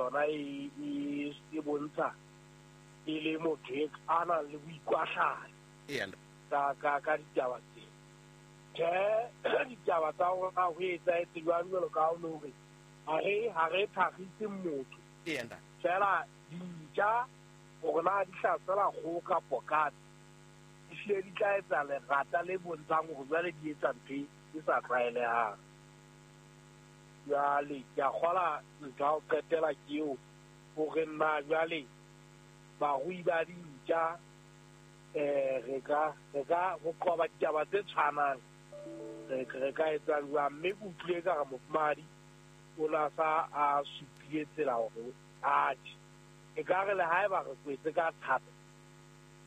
yona e bontsha e le motho e a nang le boikwahlano ka ditaba tse. Tjhe, ditaba tsa rona ho etsahetse jwang jwalo ka ha o le hore ha re thakgise motho. Fela dintja hore na di hlasela kgoho kapo katse, ehlile di tla etsa lerata le bontshang hore jwale di etsa ntho e sa tlwaelehang. Jwale ke a kgola ntho ya ho qetela ke eo hore nna jwale barui ba dintja re ka ho qoba ditaba tse tshwanang re ka etsa jwang. Mme ke utlwile ka re mofumahadi o na sa a supile tsela hore atjhe e ka re le haeba re kwetse ka thata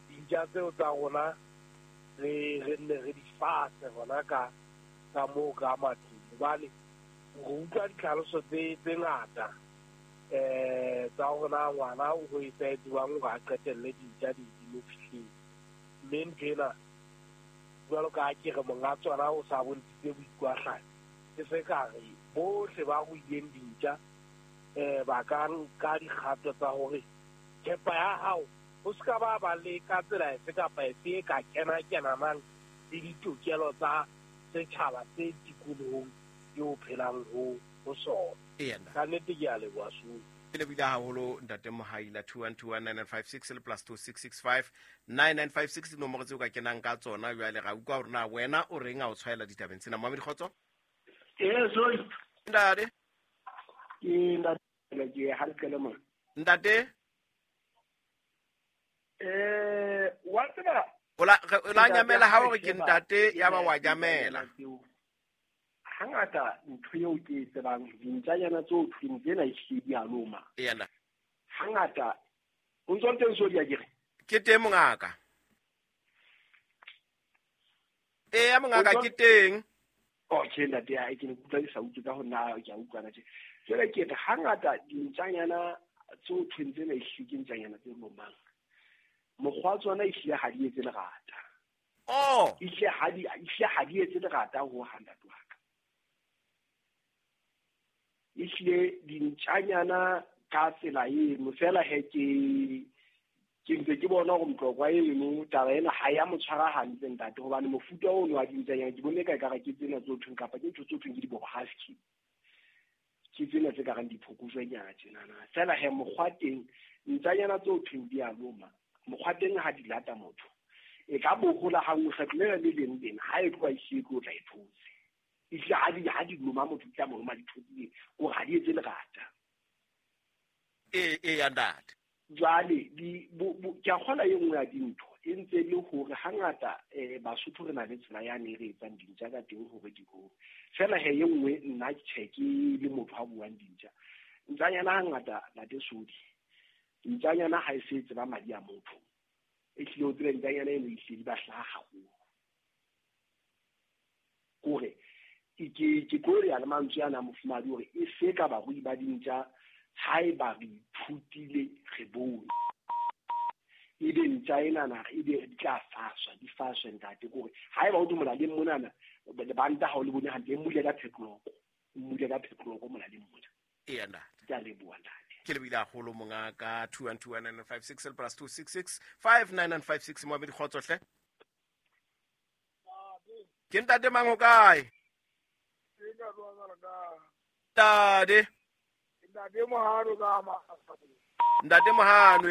dintja tseo tsa rona re nne re di fase hona ka moo ka matlung. Hobane re utlwa ditlhaloso tse ngata tsa hore na ngwana o ho etsahetse jwang hore a qetelle dintja di mo fihleng. Mme ntho ena jwalo ka ha ke re monga tsona o sa bontshitse boikwahlano, ke se ka re bohle ba ruileng dintja ba ka nka dikgato tsa hore thepa ya hao ho se ka ba le ka tsela efe kapa efe e ka kena-kenanang le ditokelo tsa setjhaba se tikolohong eo phelang ho sona. Ka nnete ke a leboha Sulu. Ke lebohile haholo ntate Mohaila. 2121956 le +2665 9956 dinomoro tseo ka kenang ka tsona. Jwale ra utlwa hore na wena o reng a o tshwaela ditabeng tsena. Moamedi Kgotso. Sorry. Ntate. Ke ntate ke ha le qele mona. Ntate. Wa tseba o la nyamela ha o re ke ntate ya ba wa nyamela. Hangata ntho eo ke e tsebang dintjanyana tseo thweng tsena ehlile di a loma. Hangata o ntso teng so di a kere. Ke teng mongaka. Eya mongaka ke teng. Okay ntate a ke ne kutlwa ke sa utlwe ka ho nna ke a utlwana tje. Jwale ke re hangata dintjanyana tseo thweng tsena ehlile ke ntjanyana tse lomang. Mokgwa tsona ehlile ha di etse lerata. Oh, ehlile ha di etse lerata ho hang ntate wa ka. Ehlile dintjanyana ka tsela eno fela he ke ntse ke bona hore Motlokwa eno taba ena ha ya mo tshwara hantle ntate, hobane mofuta ono wa dintjanyana ke bone ka ekare ke tsena tse thweng kapa ke ntho tse thweng ke di-bob husky, ke tsena tse kareng diphokojwenyana tjenana. Fela he mokgwa teng ntjanyana tse thweng di a loma, mokgwa teng ha di lata motho e ka bohola ha nngwe kgetlo lena le leng lena ha e tloha e siye ke o tla e thotse. Ehlile ha di loma motho di tla mo loma di thotsile hore ha di etse lerata. Eya ntate. Jwale ke a kgola e nngwe ya dintho e ntse le hore hangata Basotho re na le tsela yane e re etsang dintja ka teng hore di hole. Fela he e nngwe nna tjhe ke le motho a buang dintja. Ntjanyana hangata ntate Sodi, ntjanyana ha e se tseba madi a motho. Ehlile o tsebe ntjanyana eno ehlile di ba hlaha haholo. Kore ke tlo ya le mantswe ana mofumahadi hore e se ka barui ba dintja haeba re ithutile re bone. Ebe ntja enana ebe di tla faswa, di faswe ntate. Kore haeba o molaleng monana lebanta ha o le bone hantle, e mmule ka phetloko, mmule ka phetloko molaleng mona. Eya ntate. Ke a leboha ntate. Ke lebohile haholo mongaka. 2121956 le +266 59956 Moamedi Kgotso hle. Ke ntate mang ho kae? Ntate. Ntate Mohano ka ma. Ntate Mohano.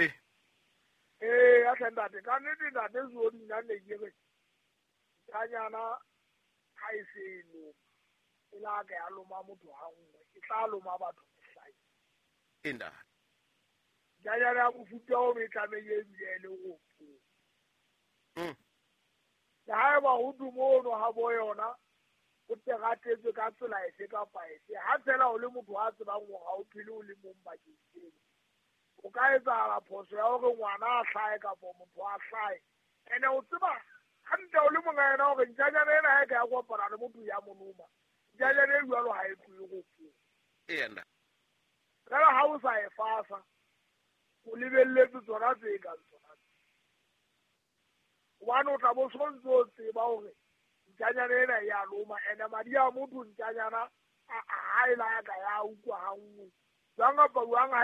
A ntate ka nnete ntate Zodi nna ne ke re ntjanyana ha e se e loma, e la ka ya loma motho ha nngwe, e tla loma batho mehlae. Ntate. Ntjanyana ya mofuta ono e tlamehile ebile e le ropo. Le haeba ho dumo ono ha bo yona o teratetswe ka tsela efe kapa efe, ha fela o le motho a tsebang hore ha o phele o le mong bakeng seno, o ka etsahala phoso ya hore ngwana a hlahe kapa motho a hlahe. Ene o tseba hantle o le monga yena hore ntjanyana ena ha e ka ya kopana le motho ya mo loma, ntjanyana e jwalo ha e tlohe ropong. Eya. Fela ha o sa e fasa, o lebelletse tsona tse kang tsona. Hobane o tla bo sontso o tseba hore ntjanyana ena e a loma, ene madi a motho ntjanyana ha e la ka ya utlwa ha nngwe. Jwang kapa jwang ha e